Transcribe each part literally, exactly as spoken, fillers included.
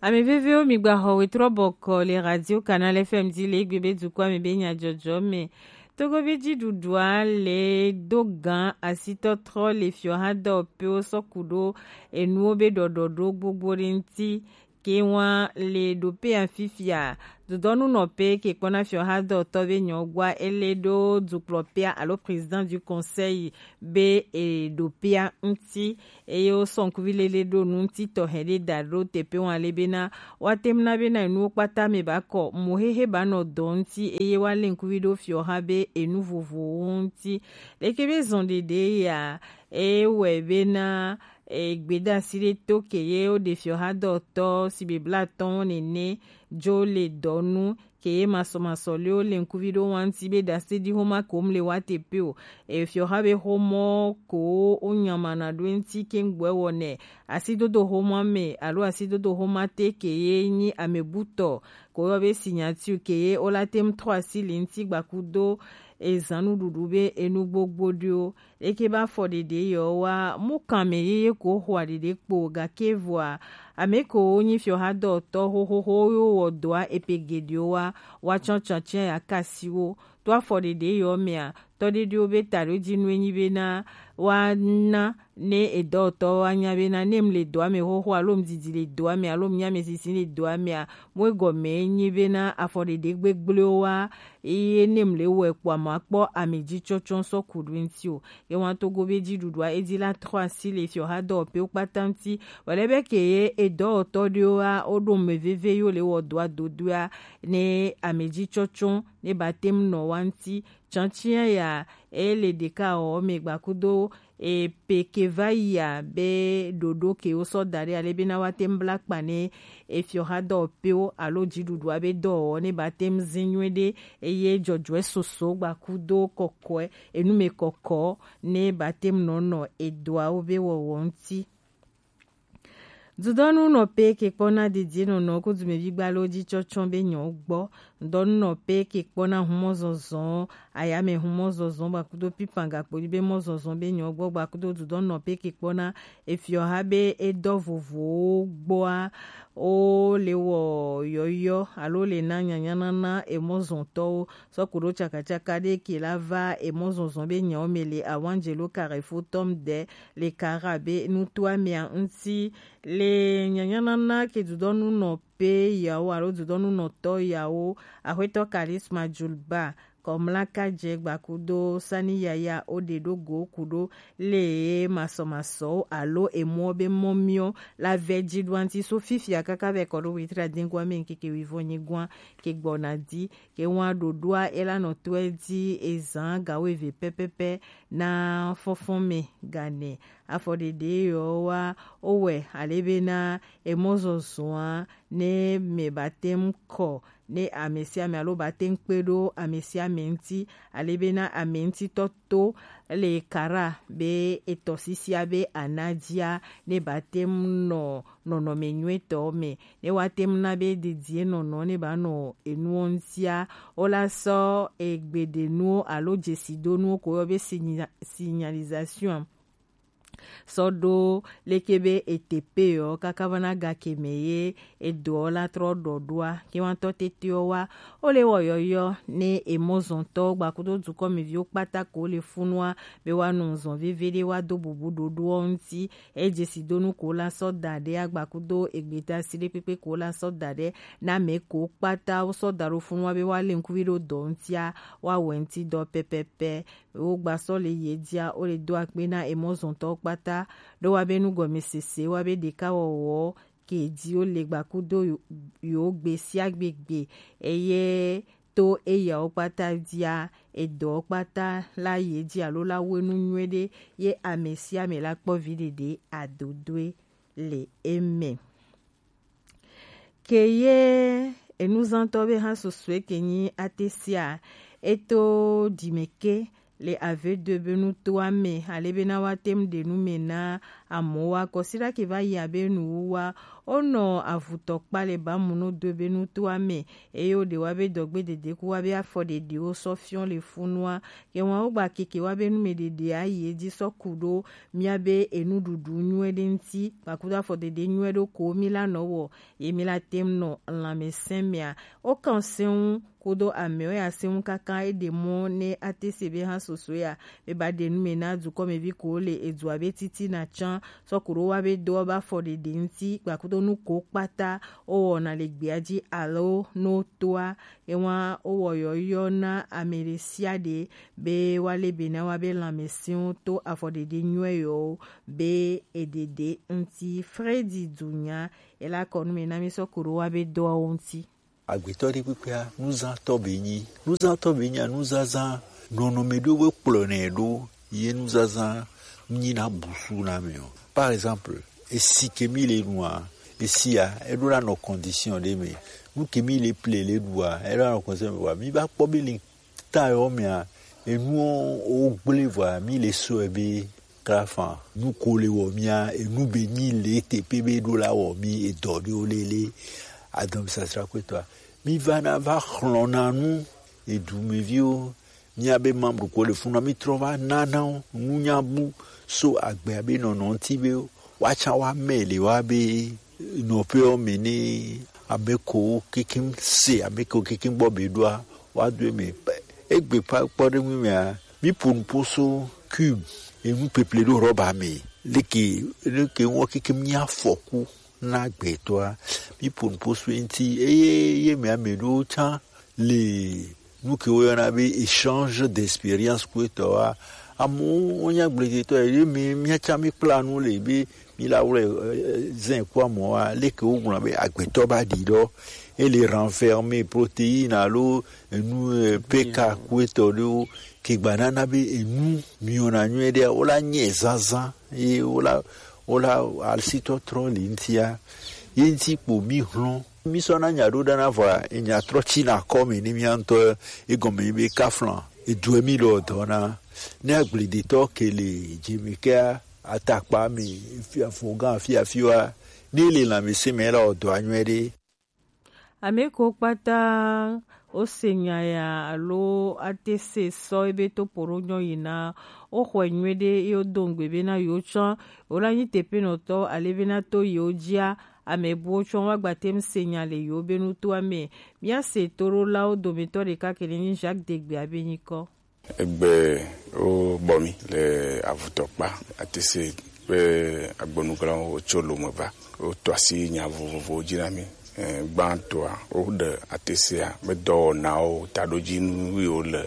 Ame vevewo, mi gba xɔ wetrɔ bɔkɔ le Radio Canal F M dzi le egbe be dukɔa me be nyadzɔdzɔ me. Togo be dziɖuɖua le do gan asitɔtrɔ le fiɔhadɔwɔƒewo sɔ ku ɖo enuwo be ɖɔɖɔɖo gbogbo ɖe ŋuti. Ke wa le ɖo pe afifia, dodɔnu nɔ pe ke kpɔna fiɔhadɔwɔtɔ be nyɔgua ele ɖo dukplɔpea alo président du conseil be e ɖo pea ŋuti. Eye wosɔ ŋkuvi lele ɖo nu ŋuti tɔxɛ ɖe da ɖo teƒe ŋu ale bena woate ŋu na bena enuwo kpata me ba kɔ mo xexe ba nɔ dɔ ŋuti eye woalé ŋkuvi ɖo fiɔxa be enu vovovowo ŋuti. Leke be zɔn ɖeɖe ya ewɔe bena egbeɖasi ɖe to ke ye woɖe fiɔxa dɔtɔ si be blatɔwo nene dzo le dɔ nu ke ye masɔmasɔ lewo le ŋkuvi ɖo wa ŋuti be ɖase ɖi xoma kom le wa te pe o. Efiɔxa be xomɔ ko wo nyamana ɖo ŋuti ke ŋgbɔe wɔnɛ asidodo xoma me alo asidodo xoma te ke ye nyi amebutɔ ko yɔ be signature ke ye wola te ŋu trɔ asi le ŋuti gbakudo ezan nuɖuɖu be enu gbogbo ɖewo. Eke be afɔɖeɖe yewo wa mu kan ame yeye ko xɔa ɖeɖe kpo gake vɔa ame ko wo nyi fiɔhadɔtɔ xoxoxo yo wɔ dɔa epe geɖewo wa wa tsɔtsɔ tia ya kasi wo to afɔɖeɖe yewo mea tɔɖeɖewo be taɖodzi nu enyi bena wa na ne edɔwɔtɔ wa nya bena ne mu le dɔa me xoxo alo mu didi le dɔa me alo mu nya ame sisi le dɔa mea mo egɔme enyi bena afɔɖeɖe gbegblẽwo wa eye ne mu le wɔe kpɔa ma kpɔ ame dzi tsɔtsɔ sɔ ku ɖo ŋuti o. Ye wa togo be dziɖuɖua edi la trɔ asi le fiɔha dɔwɔƒewo kpata ŋuti. Wòle be ke ye edɔwɔtɔ ɖewoa woɖo me veve yo le wɔ dɔa dodoa ne ame dzi tsɔtsɔ ne ba te ŋu nɔ wa ŋuti. Tsantsia ya ele ɖeka wɔ me gbakudo e pe ke va yia be ɖoɖo ke wo sɔ da ɖe ale be na wa te ŋu bla kpa ne efiɔha dɔwɔƒewo alo dziɖuɖua be dɔwɔwɔ ne ba te ŋu zin nyuie ɖe eye dzɔdzɔe soso gbakudo kɔkɔe enume kɔkɔ ne ba te ŋu nɔ nɔ edɔawo be wɔwɔ ŋuti. Dudɔnu nɔ pe ke kpɔna dedie nɔnɔ ko dumevi gbalo dzi tsɔtsɔ be nyɔ gbɔ. Dudɔnu nɔ pe ke kpɔna humɔ zɔzɔ ayame humɔ zɔzɔ gbakudo pipan gakpo be mɔ zɔzɔ be nyɔ gbɔ gbakudo dudɔnu nɔ pe ke kpɔna efiɔha be edɔ vovowo gbɔa wo le wɔ yɔyɔ alo le na nyanyanana emɔzɔntɔwo sɔku ɖo tsakatsaka ɖe ke la va emɔzɔzɔ be nyawo me le awangelo karefo tɔm de le kara be nutoa mea ŋuti le nyanyanana ke dudɔnu nɔ pe yawo alo dudɔnu nɔtɔ yawo axwetɔ karisma julba kɔmla kadze gbakudo sani yaya o ɖe ɖo go ku ɖo le masɔmasɔwo alo emɔ be mɔmiɔ la vɛ dzi ɖo anti so fifia kaka vɛ kɔ ɖo witra dingua me ŋkeke wivɔ nyigua ke gbɔna di ke wa ɖoɖoa ela nɔ tɔe di ezan gawo eve pɛpɛpɛ na fɔfɔn me gane afɔɖeɖe yɔ wa owɛ ale be na emɔzɔzɔa ne me ba te ŋu kɔ ne ame sia ame alo ba te ŋu kpe ɖo ame sia ame ŋuti ale be na ame ŋutitɔ to le kara be etɔsisia be anadzia ne ba te ŋu nɔ nɔnɔme nyuietɔ me ne wa te ŋu na be dedie nɔnɔ ne ba nɔ enuwo ŋutia wo la sɔ egbeɖenuwo alo dzesidonuwo ko yɔ be signa- signalisation sɔ ɖo leke be etepe yɔ kaka va na gake me ye edɔ la trɔ ɖɔ ɖoa ke wa tɔ tete wa wo le wɔ yɔyɔ ne emɔzɔntɔ gbakudo dukɔmeviwo kpata ko le funua be wa nɔ zɔn veve ɖe wa do bubu ɖoɖoɔ ŋuti. Edzesi do nu ko la sɔ da ɖe agbakudo egbeta si ɖe kpekpe ko la sɔ da ɖe na me ko kpata wo sɔ da ɖo funua be wa le ŋkuvi ɖo dɔ ŋutia wa wɛ ŋuti dɔ pɛpɛpɛ. Wo gba sɔ le ye dzia wo le do akpe na emɔzɔntɔwo kpata ɖo wa be nugɔmesese wa be ɖeka wɔwɔ ke dzi wo le gbakudo yo- yo gbe sia gbe gbe eye to eyawo kpata dzia edɔ kpata la ye dzi alo la wo enu nyuie ɖe ye ame sia ame la kpɔ vi ɖeɖe adodoe le eme. Ke ye enuzãtɔ be hã susue ke nyi ate sia eto dime ke le ave do be nutoa me ale be na wa te ŋu ɖe nu me na Amɔ̃ wa kɔsiɖa ke va yi abe nuwuwa, wonɔ avutɔ kpa le ba mu no do ebe nuto amɛ, eye wo ɖe wa be dɔgbe dede ku wa be afɔ ɖeɖe wo sɔ fiɔ le funua. Ke wa wo gba keke wa be nu me ɖeɖe ayi edzi sɔ ku ɖo mía be enuɖuɖu nyuie ɖe ŋuti, gbakudo afɔ ɖeɖe nyuie ɖo ko mi la nɔ wɔ, ye mi la tem nɔ lãmesẽ mea. Wo kan sẽŋu kudo amɛwo ya sẽŋu kaka eɖe mɔ ne ate se be hã soso ya be ba ɖe nu me na dukɔmevi ko le edua be titina tsã sɔ ku ɖo wa be do wa be afɔ ɖeɖe ŋuti gbakudo nu ko kpata wo wɔna le gbea dzi alo no toa ewa wo wɔ yɔyɔ na ame ɖe sia ɖe be wa le be na wa be lãmesẽwo to afɔ ɖeɖe nyuie yɔwo be eɖeɖe ŋuti. Fredi dunya ela kɔ nu me na mi sɔ ku ɖo wa be doawo ŋuti. Agbetɔ ɖe kpekpea, nuzãtɔ be nyi. Nuzãtɔ be nya nuzazã nɔnɔme ɖewo be kplɔnɛ ɖo ye nuzazã nyi na busu na mɛ o. Par exemple, esi ke mi le nua, esia eɖo la nɔ condition ɖe me. Nu ke mi le ple le ɖua, eɖo la nɔ condition me wa. Mi va kpɔ be le ta yɔ mea, enuwo wo gblẽ vɔa, mi le sɔe be klafa. Nu ko le wɔ mia, enu be nyi le teƒe be ɖo la wɔ mi edɔ ɖewo lele. Adɔmsasra kpetɔa, mi va na va xlɔ̃na nu edumeviwo, mia be membre ko le funa, mi trɔ va nana wo nunya bu so agbea be nɔnɔ ŋuti be woatsã woame le wa be nɔƒewo me ne ame kewo kekem se, ame kewo kekem gbɔ be ɖoa, woado eme. Egbe kpa kpɔɖeŋu mea, mi ƒo nu ƒo so cube, enu ƒeƒle ɖo rɔba me. Leke, leke ŋua kekem nye afɔku na gbetɔa, mi ƒo nu ƒo so eŋuti, eye ye me ame ɖewo tsã le nu ke woyɔna be échange d'expérience ku etɔa. Amewo wonya agbledetɔ ye mi miatsa mi kpla nu le be mi la wlɛ zɛn kua mɔa, leke wogblɔ be agbetɔ ba ɖi ɖɔ, ele renfermer protéine alo enu peka ku etɔ ɖewo ke gba nana be enu miona nyuie ɖea wola nyɛ zazã ye wola wola alisitɔtrɔ le ŋutia ye ŋuti kpo mi hlɔ̃. Mi sɔna nya ɖo ɖana vɔa, enya trɔ tsina kɔ me ni mia ŋutɔ. Egɔme be kafla edue mi lɔ dɔna. Ne agbledetɔ ke le dzeme kea, atakpa me, afɔga afi afi wa, ne le lãmesẽ me la, wɔ dɔa nyuie ɖe. Ame ko kpata wose nya ya alo ate se sɔ ebe to poɖo nyɔ yina, woxɔe nyuie ɖe ye wodo ŋugbe be na yewo tsã yewo la nyi teƒenɔtɔ ale be na to yewo dzia, ame buwo tsɔ woagba te ŋu se nya le yewo be nutoa me. Míase toɖolawo dometɔ ɖeka ke nyi Jacques Degbe abe nyikɔ. Egbe wo bɔ mi le avutɔkpa atese ƒe agbɔnuglawo tso lome va. Woto asi nya vovovowo dzi na mí. Eh, gbãtɔa, woɖe atesea be dɔwɔnawo, taɖodzinu yiwo le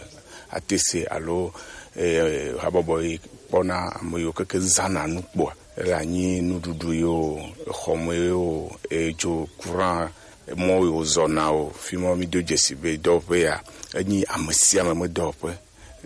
atese alo, eh, habɔbɔ yi kpɔna ame yiwo keke zãna nu kpɔa, ele anyi nuɖuɖu yo, exɔme yo, edzo, courant, mɔ yo zɔna o, fi ma mí do dzesi be dɔwɔƒe ya, enyi ame sia ame me dɔwɔƒe.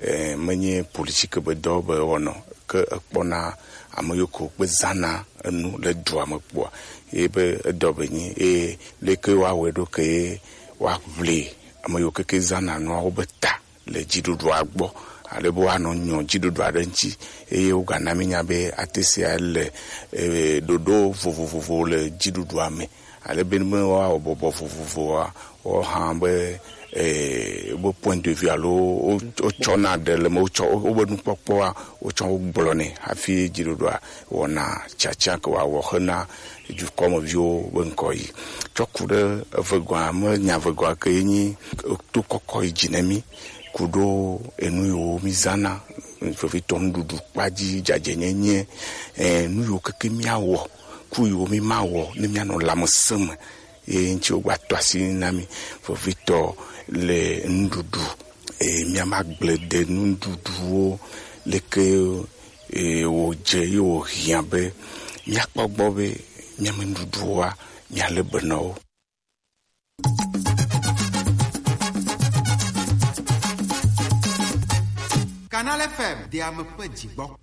Eh, menye politique be dɔ be wɔnɔ, ke ekpɔna ame yiwo ke kpe zãna enu le dua me kpɔa, ye be edɔ be nyi, eye leke woawɔe ɖo ke ye woaʋli ame yiwo keke zãna nuawo be ta le dziɖuɖua gbɔ, ale be woanɔ nyɔ dziɖuɖua ɖe ŋuti, eye wogana mí nya be atesea le, eh, ɖoɖo vovovowo le dziɖuɖua me, ale be ne woawɔ bɔbɔ vovovoa, woawo hã be, eh, wobe point de vue alo wo, wotsɔna ɖe le me, wotsɔ wobe nukpɔkpɔa, wotsɔ wo gblɔnɛ hafi dziɖuɖua wɔna tiatia ke woawɔ hena dukɔmeviwo be ŋkɔ yi. Tsɔ ku ɖe Evegɔa me, nya Evegɔa ke ye nyi to kɔkɔ yi dzi ne mí, ku ɖo enu yiwo mí zãna, vevitɔ nuɖuɖu kpa dzi, dzadzɛnyenye, eh, nu yiwo keke míawɔ, ku yiwo mí ma wɔ, ne míanɔ lãmesẽ me. Ye ŋuti wogba to asi na mí vevitɔ le nuɖuɖu. Eye mía ma gblẽ ɖe nuɖuɖuwo leke, eye wòdze ye wòhiã be míakpɔ gbɔ be mía me nuɖuɖuwoa, míalé be na wo. Canal F M, de ame ƒe dzigbɔ.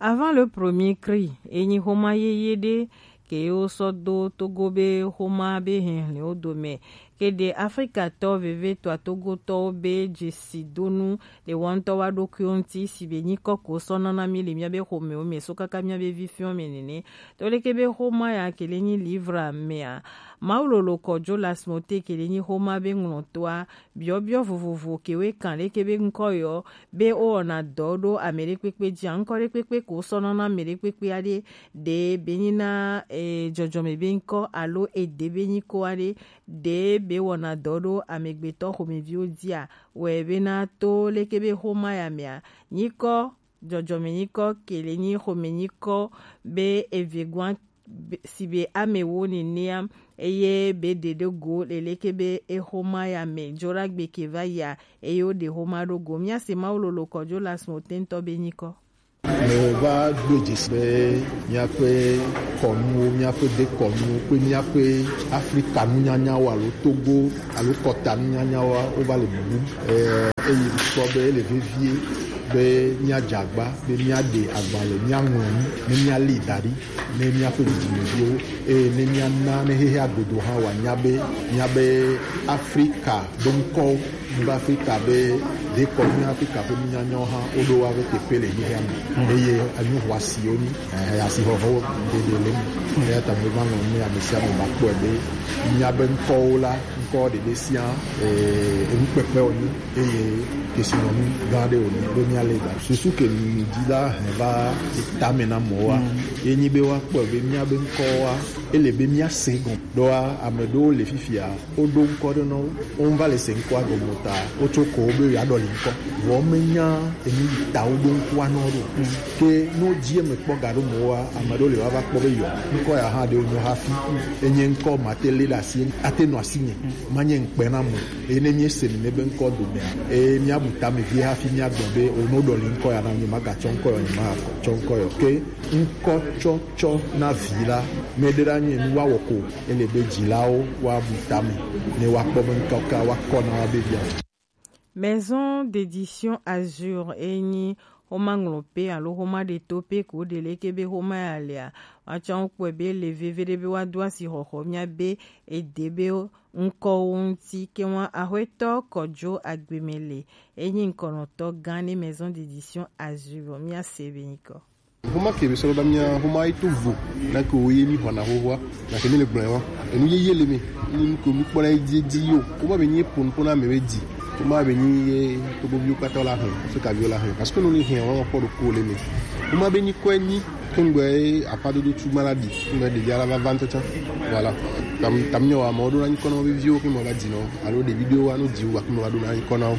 Avant le premier cri, enyi xoma yeye ɖe ke wo sɔ do Togo be xoma be hɛnhlɛnwo dome. Ke ɖe Afrikatɔ vevetɔ Togotɔwo be jesidonu le wo ŋutɔ wa ɖokuiwo ŋuti, si be nyikɔ ko sɔ nana mi le miabe xomewo me so kaka miabe vifiɔ me nene. To leke be xoma ya ke le nyi livre mea, Mawu lolo kɔjo lasmote ke le nyi xoma be ŋlɔtɔa, biɔbiɔ vovovo ke we kan leke be ŋkɔ yɔ be wowɔna dɔ ɖo ame ɖekpekpe dzi a, ŋkɔ ɖekpekpe ko sɔ nana ame ɖekpekpe aɖe, ɖe be nyi na e, dzɔdzɔme be ŋkɔ alo ede be nyikɔ aɖe, ɖe be wɔna dɔ ɖo amegbetɔ xomeviwo dzia, wɛ bena to leke be xoma ya mea, nyikɔ, dzɔdzɔme nyikɔ ke le nyi xome nyikɔ be eve gwan be- si be ame wo nenea, eye be ɖe ɖe go le leke be exoma ya me dzo la gbe ke va yia, eye wo ɖe xoma ɖo go. Mia se Mawu lolo kɔjo la sun otentɔ be nyikɔ. Meva gbe dzesi be míaƒe kɔnuwo, míaƒe dekɔnuwo kple míaƒe Afrika nunyanyawo alo Togo alo kɔta nunyanyawoa, wova le bubu. Eh, eye mekpɔ be ele vevie be míadze agba, be míaɖe agbalẽ, míaŋlɔ nu, ne míalée da ɖi ne míaƒe dzidzimeviwo, eye ne míana ne xexea godo hã wòanya be míabe Afrika doŋkɔwo, míabe Afrika be dekɔnu, Afrika ƒe nunyanyawo hã woɖo woaƒe teƒe le xexea me, eye enu xɔasiwo nyi, eh, asixɔxɔ ɖeɖe le eme. Eya ta meva ŋlɔm ne ame sia ame va kpɔe be míabe ŋkɔwo la, ŋkɔ ɖeɖe sia, eh, enukpekpe wònye, eye kesinɔnu gã aɖe wònye be míalé da. Susu ke mi di la he va tame na mɔwoa, ye nyi be woakpɔe be míabe ŋkɔwoa, ele be míase gɔ̃. Ɖoa ame ɖewo le fifia, woɖo ŋkɔ ɖe na wo, wova le se ŋkɔa gɔme o ta, wotso ko wo be yewoaɖɔli ŋkɔ. Vɔ menya enu yi ta woɖo ŋkɔa na wo ɖo. Ke ne wodzi eme kpɔ gaɖo mɔwoa, ame aɖewo le woava kpɔ be yɔ, ŋkɔ ya hã ɖe wonyo hafi. Enye ŋkɔ mate lé ɖe asi, ate nɔ asinye, manye ŋkpe na mo. Eye ne míese nene be ŋkɔ domea, eye míabu tame vie hafi míagblɔ be, o, ne woɖɔli ŋkɔ ya na nye, magatsɔ ŋkɔ yɔ, nyemagatsɔ ŋkɔ yɔ. Ke ŋkɔ tsɔtsɔ na vi la, meɖe ɖa nye nu woawɔ ko, ele be dzilawo woabu tame, ne woakpɔ be ŋkɔ ka woakɔ na woabe via. Maison d'édition Azur enyi xoma ŋlɔpe alo xoma ɖetope ko ɖe leke be xoma ya lea, woatsɔ ŋkpɔe be le veve ɖe be woado asi xɔxɔ míabe ede be ŋkɔwo ŋuti. Ke ŋua Axwetɔ Kɔdzo Agbemele enyi ŋkɔnɔtɔ gã ne Maison d'édition Azur. Míase be nyikɔ. Xoma ke be sɔrɔ da mía xoma yi to vo na ke wo ye mi xɔna xoxoa, na ke mi le gblɔe wa. Enu yeye le mi, ni ko mi kpɔna yi dzi dzi yo. Xoma be nyi pon pon na me be dzi. Xoma be nyi ye to bo viwo kpata la hɛn, so ka viwo la hɛn. Parce que no ni hɛn wa kpɔ do ko le mi. Xoma be nyi ko nyi kengbe apa do do tu ma la di. Kengbe de ya la va va ntɔ tsa. Voilà. Tam tam nyo wa mo do na nyi ko no be viwo ke mo ba di no. Alo de vidéo wa no di wa ke mo ba do na nyi ko no.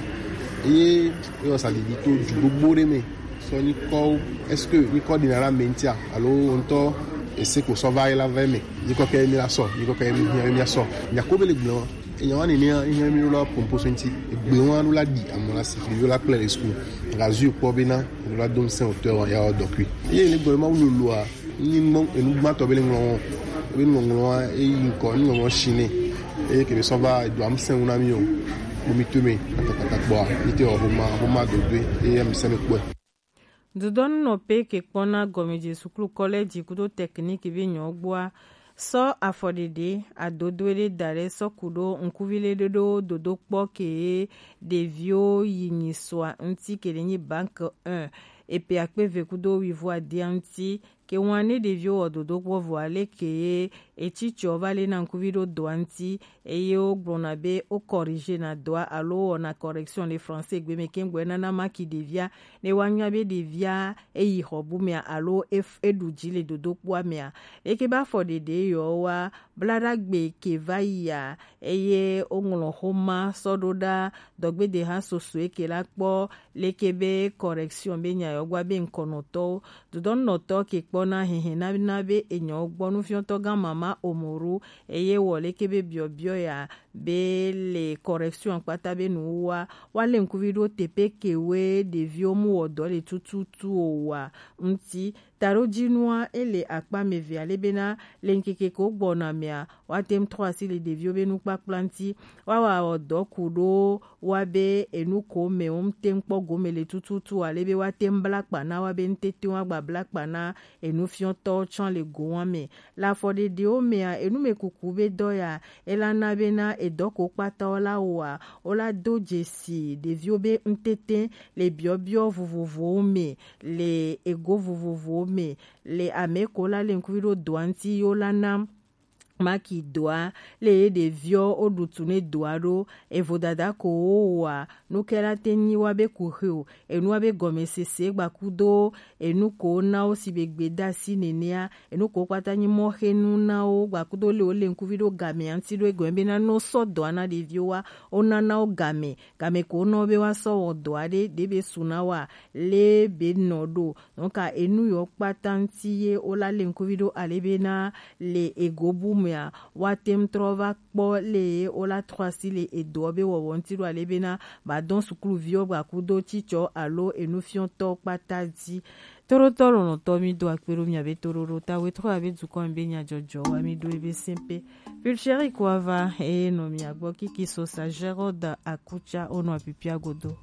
Eye yo sa di to ju gbogbo de mi. Sɔ nyikɔwo, est-ce que nyikɔ ɖina la me ŋutia alo wo ŋutɔ ese ko sɔ va yi la va eme? Nyikɔ ke mi la sɔ, nyikɔ ke mi hiã mi asɔ. Nya ko be le gblɔ. Enya wani ne hiã mi la pompo so ŋuti. Egbe wa nu la di amo la si fli la kple le school. Ga zu kpɔ be na la dom sen auteur wa ya dɔkui. Ye le gblɔ ma wulu lua. Ni mo enu gbãtɔ be le ŋlɔ wɔn. Be ŋlɔŋlɔ wa eyi ŋkɔ ni ŋlɔ wɔn shine. Eye ke be sɔ va edu am sen na mi o. Mo mi to me katakata kpɔa. Mi te o homa homa dodwe. Eye mi se me kpɔe. Dodɔnunɔƒe ke kpɔna gɔmedze suklu kɔlɛji kudo tɛkiniki be nyɔgbɔa sɔ afɔɖeɖe adodoe ɖe da ɖe sɔ ku ɖo ŋkuvi le ɖoɖo dodokpɔ ke ɖeviwo yi nyi sɔa ŋuti ke ɖe nyi bank un epe akpe eve kudo wivo adia ŋuti ke ŋua ne ɖeviwo wɔ dodokpɔ vɔa leke etsitsɔ va le na ŋkuvi ɖo dɔa ŋuti eye wogblɔna be wo corrigena dɔa alo wowɔna correction le français gbe me ke ŋgbɔe nana maki ɖevia ne woanya be ɖevia eyi xɔ bu mea alo ef- eɖu dzi le dodokpoa mea. Eke be afɔɖeɖe yewoa bla ɖa gbe ke va yia eye woŋlɔ xoma sɔ ɖo ɖa dɔgbede hã sosoe ke la kpɔ leke be correction be nya yewo gba be ŋkɔnɔtɔwo dodɔnɔtɔ ke kpɔna hehe na na be enyawo gbɔ nufiɔtɔ gã mama omoru eye wɔ leke be biɔbiɔ ya be le correction kpata be nuwua wa le ŋkuvi ɖo teƒe kewoe ɖeviwo mu wɔ dɔ le tututu o wa ŋuti. Taɖodzinua ele akpa ame eve ale bena le ŋkeke ko gbɔna mea woate ŋu trɔ asi le ɖeviwo be nukpakpla ŋuti. Woawɔ dɔ ku ɖo wa be enu ko me wo ŋute ŋu kpɔ gome le tututu ale be woate ŋu bla kpa na wa be ŋutete ŋu agba bla kpa na Enufiɔtɔ tsɔ le gowan mɛ. Le afɔɖeɖewo mɛa, enumɛkuku be dɔ ya, ela na bena edɔ ko kpata wo la wɔa, wo la do dzesi ɖeviwo be ŋtete le biɔbiɔ vovovowo mɛ, le ego vovovowo mɛ, le ame ko la le ŋkuvi ɖo doa ŋti yo la na maki doa le ye ɖeviɔ wo ɖutu ne doa ɖo evo dada ko wo wɔa, nu ke la te nyi wa be ku xe o, enu wa be gɔmesese gbakudo enu ko na wo si be gbe da si nenea, enu ko kpata nyi mɔxenu na wo gbakudo le wo le ŋkuvi ɖo game anti ɖo egɔme bena no sɔ dɔa na ɖeviwo wa, wo na na wo game, game ko na wo be wa sɔ wɔ dɔa ɖe ɖe be su na wa le be nɔ ɖo. Donc enu yɔ kpata ŋti ye wo la le ŋkuvi ɖo ale bena le ego bu mea, wa tem trɔ va kpɔ le ye wo la trɔ asi le edɔ be wɔwɔ ŋti ɖo ale bena ba dɔn sukluviwo gbakudo cicɔ alo enufiɔtɔ kpata di. Tɔɖotɔ lɔlɔtɔ, mi do akpe ɖo mia be toɖoɖo ta we trɔ abe dukɔ mi be nyajɔjɔ wa mi ɖo ebe sɛnpe. Pulcheri ko ava eye nɔ mia gbɔ kiki sosa Gérald Akucha onɔ apipia godo.